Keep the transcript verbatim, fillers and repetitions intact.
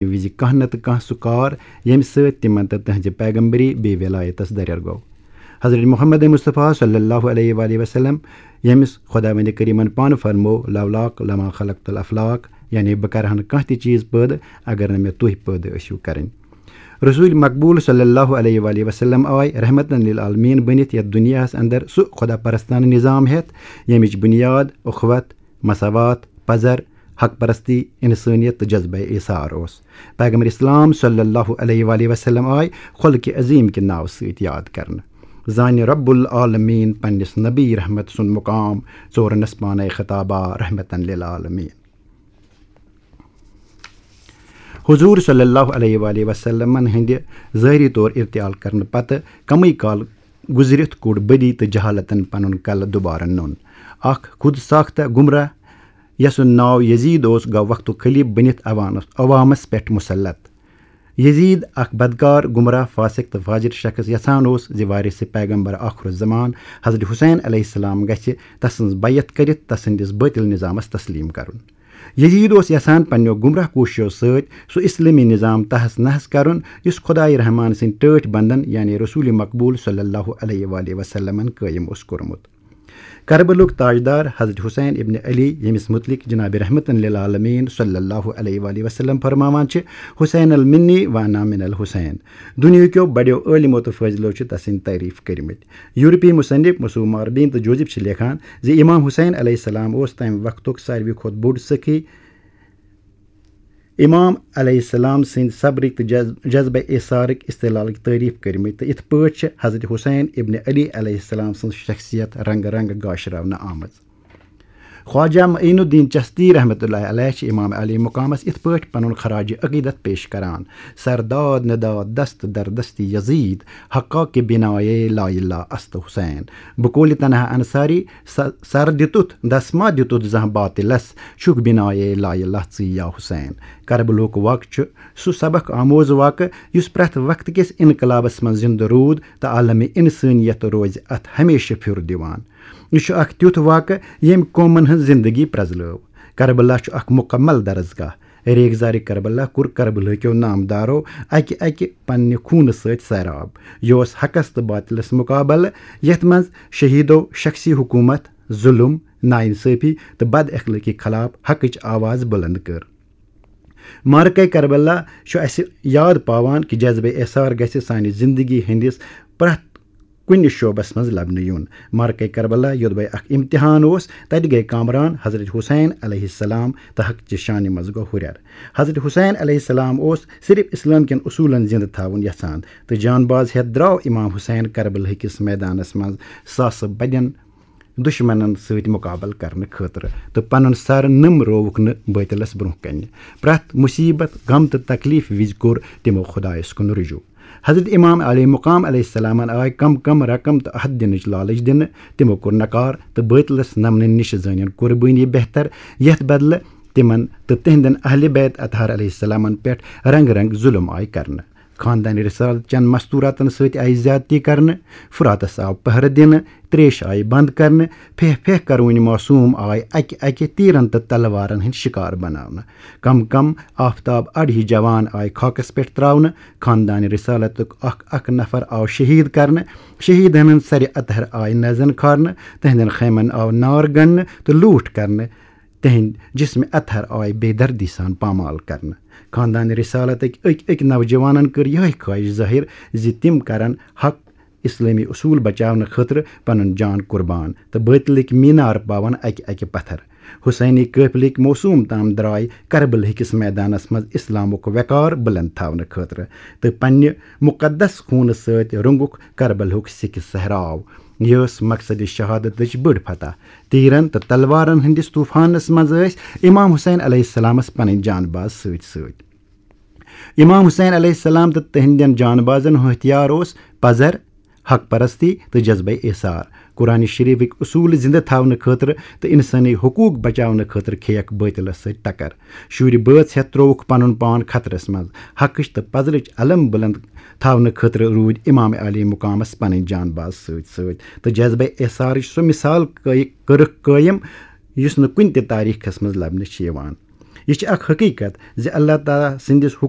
وِزِ کانٛہہ نَتہٕ کانٛہہ سُہ کار، ییٚمہِ سۭتۍ تِمن تہٕ تِہنٛزِ پیغمبری بیٚیہِ ولایتس دریر گوٚو۔ حضرت محمد مصطفیٰ صلی اللہ علیہ وآلہ وسلم، ییٚمِس خۄداوندِ کریٖمن پانہٕ فرموو، "لولاک لما خلقت الافلاک"، یعنی بہٕ کرٕ ہا نہٕ کانٛہہ تہِ چیٖز پٲدٕ اگر نہٕ مےٚ تُہۍ پٲدٕ ٲسِو کرٕنۍ۔ رسول مقبول صلی اللہ علیہ وآلہ وسلم آے رحمتن للعالمین بٔنِتھ یتھ دُنیاہس اندر سُہ خۄدا پرستانہٕ نظام ہٮ۪تھ، ییٚمِچ بُنیاد اخوت، مساوات، پزر، حق پرستی، انسٲنیت تہٕ جذبہ ایثار اوس۔ پیغمبر اسلام صلی اللہ علیہ وآلہ وسلم آے خلق عظیم کہِ ناوٕ سۭتۍ یاد کرنہٕ۔ زانہِ رب العالمین پننِس نبی رحمت سُنٛد مقام، ژورنس پانے خطابہ رحمتن للعالمین۔ حضور صلی اللہ علیہ وآلہ وسلمن ہٕنٛدِ ظٲہری طور ارتحال کرنہٕ پتہٕ کمٕے کال گُزرِتھ کوٚڑ بدی تہٕ جہالتن پنُن کلہٕ دوبارٕ نوٚن۔ اکھ خود ساختہ گمراہ، یسُنٛد ناو یزید اوس، گوٚو وقتُک خلیف بٔنِتھ عوانس-، عوامس پٮ۪ٹھ مسلط۔ یزید، اکھ بدکار، گمراہ، فاسق تہٕ فاجر شخص، یژھان اوس زِ وارث پیغمبر آخر الزمان حضرت حسین علیہ السلام گژھِ تسٕنٛز بیعت کٔرِتھ تسٕنٛدِس باطل نظامس تسلیم کرُن۔ یزید اوس یژھان پننیو گمراہ کوٗششو سۭتۍ سُہ اسلٲمی نظام تہس نہس کرُن، یُس خدائے رحمان سٕنٛدۍ ٹٲٹھۍ بندن، یعنی رسول مقبول صلی اللہ علیہ وآلہ وسلمن قٲیِم اوس کوٚرمُت۔ کربلُک تاجدار حضرت حسین ابن علی، ییٚمِس متعلق جناب رحمتن للعالمین صلی اللہ علیہ وآلہ وسلم فرماوان چھِ، "حسین المنی وانا من الحسین"۔ دُنیہکیو بڑیو عٲلمو تہٕ فٲضلو چھِ تسٕنٛدۍ تعریف کٔرمٕتۍ۔ یورپی مصنف مصوم ماربین تہٕ جوزف چھِ لیکھان زِ امام حسین علیہ السلام اوس تمہِ وقتُک ساروی کھۄتہٕ بوٚڑ سخی۔ امام علیہ السلام سٕنٛدِ صبرٕکۍ تہٕ جذ-، جذبہ ایثارٕکۍ استحلالٕکۍ تعریف کٔرمٕتۍ، تہٕ یِتھ پٲٹھۍ چھِ حضرت حسین ابن علی علیہ السلام سٕنٛز شخصیت رنگہٕ رنگہٕ گاشراونہٕ آمٕژ۔ خواجہ معین الدین چشتی رحمتہ اللہ علیہ چھِ امام علی مقامس یِتھ پٲٹھۍ پنُن خراج عقیدت پیش کران، "سر داد نداد دست در دست یزید، حقا کہ بنائے لا الہ است حسین، بقول تنہا انصاری، س-، سر دتت دس ما دتت زانٛہہ باطلس، چھُکھ بنائے لا الہ ژٕے یا حسین"۔ کربلُک واقعہٕ چھُ سُہ سبق آموز واقعہٕ یُس پرٛٮ۪تھ وقتہٕ کِس انقلابس منٛز زندٕ روٗد تہٕ عالمِ انسٲنیت روزِ اتھ ہمیشہٕ پھِر دِوان۔ یہِ چھُ اکھ تیُتھ واقعہٕ ییٚمۍ قومن ہٕنٛز زندگی پرٛزلٲو۔ کربلا چھُ اکھ مکمل درسگاہ۔ ریگزارِ کربلا کوٚر کربلہٕ کیو نامدارو اکہِ اکہِ پننہِ خوٗنہٕ سۭتۍ سیراب۔ یہِ اوس حقس تہٕ باطلس مقابلہٕ، یتھ منٛز شہیدو شخصی حکومت، ظلم، ناانصٲفی تہٕ بد اخلٲقی خلاف حقٕچ آواز بلند کٔر۔ معرکہ کربلا چھُ اسہِ یاد پاوان کہِ جذبہ ایثار گژھِ سانہِ زندگی ہٕنٛدِس پرٛٮ۪تھ کُنہِ شعبس منٛز لبنہٕ یُن۔ معرکہ کربلا یوٚدوے اکھ امتحان اوس، تتہِ گٔے کامران حضرت حسین علیہ السلام تہٕ حق چہِ شانہِ منٛز گوٚو ہُرٮ۪ر۔ حضرت حسین علیہ السلام اوس صرف اسلام کٮ۪ن اصوٗلن زندٕ تھاوُن یژھان، تہٕ جان باز ہٮ۪تھ درٛاو امام حسین کربلہٕ کِس میدانس منٛز ساسہٕ بدٮ۪ن دُشمنن سۭتۍ مقابلہٕ کرنہٕ خٲطرٕ تہٕ پنُن سر نٔم رووُکھ نہٕ بٲطلس برونٛہہ کنہِ۔ پرٛٮ۪تھ مصیبت، غم تہٕ تکلیف وِزِ کوٚر تِمو خدایس کُن رجوع۔ حضرت امام علی مقام علیہ السلامن آے کم کم رقم تہٕ عہد دِنٕچ لالچ دِنہٕ، تِمو کوٚر نکار تہٕ بٲطلس نمنہٕ نِش زٲنِن قربٲنی بہتر، یتھ بدلہٕ تِمن تہٕ تِہنٛدٮ۪ن اہلِ بیت اطہار علیہ السلامن پٮ۪ٹھ رنگ رنگ ظلم آے کرنہٕ۔ خاندان رسالت چٮ۪ن مستوراتن سۭتۍ آیہِ زیادتی کرنہٕ، فراتس آو پہرٕ دِنہٕ، تریش آیہِ بند کرنہٕ، پھیہ پھیہ کرونۍ معصوم آیہِ اکہِ اکہِ تیرن تہٕ تلوارن ہٕنٛدۍ شکار بناونہٕ۔ کم کم آفتاب اڑ ہی جوان آیہِ خاکس پٮ۪ٹھ تراونہٕ۔ خاندان رسالتُک اکھ اکھ نفر آو شہید کرنہٕ۔ شہیدن ہٕنٛز سرِ اطہر آیہِ نزن کھارنہٕ، تہنٛدٮ۪ن خیمن آو نار گنڈنہٕ تہٕ لوٗٹھ کرنہٕ۔ تہنٛدۍ جسم اطہر آیہِ بے دردی سان پامال کرنہٕ۔ خاندان رسالتٕکۍ أکۍ أکۍ نوجوانن کٔر یِہے خواہش ظٲہر زِ تِم کرن حق اسلٲمی اصوٗل بچاونہٕ خٲطرٕ پنُن جان قربان تہٕ بٲطلٕکۍ مینار پاون اکہِ اکہِ پتھر۔ حسینی قٲفلٕکۍ موصوم تام درٛاے کربلہٕ کِس میدانس منٛز اسلامُک وقار بلند تھاونہٕ خٲطرٕ تہٕ پننہِ مقدس خوٗنہٕ سۭتۍ روٚنگُکھ کربلہُک سِکہِ صحراو۔ یہِ ٲس مقصد شہادتٕچ بٔڑ فتح۔ تیرن تہٕ تلوارن ہٕنٛدِس طوفانس منٛز ٲسۍ امام حسین علیہ السلامس پنٕنۍ جان باز سۭتۍ سۭتۍ۔ امام حسین علیہ السلام تہٕ تہنٛدٮ۪ن جان بازن ہُنٛد ہتھیار اوس پزر، حق پرستی تہٕ جذبہ ایثار۔ قرآن شریفٕکۍ اصوٗل زندٕ تھاونہٕ خٲطرٕ تہٕ انسٲنی حقوٗق بچاونہٕ خٲطرٕ کھیٚیکھ بٲطلس سۭتۍ ٹکر۔ شُرۍ بٲژ ہٮ۪تھ ترووُکھ پنُن پان خطرس منٛز۔ حقٕچ تہٕ پزرٕچ علم بلند تھاونہٕ خٲطرٕ روٗدۍ امام علی مقامس پنٕنۍ جان باز سۭتۍ سۭتۍ، تہٕ جذبہ ایثارٕچ سۄ مثال قٲ-، کٔرٕکھ قٲیِم یُس نہٕ کُنہِ تہِ تاریخس منٛز لبنہٕ چھِ یِوان۔ یہِ چھِ اکھ حقیقت زِ اللہ تعالیٰ سٕنٛدِس حُکمس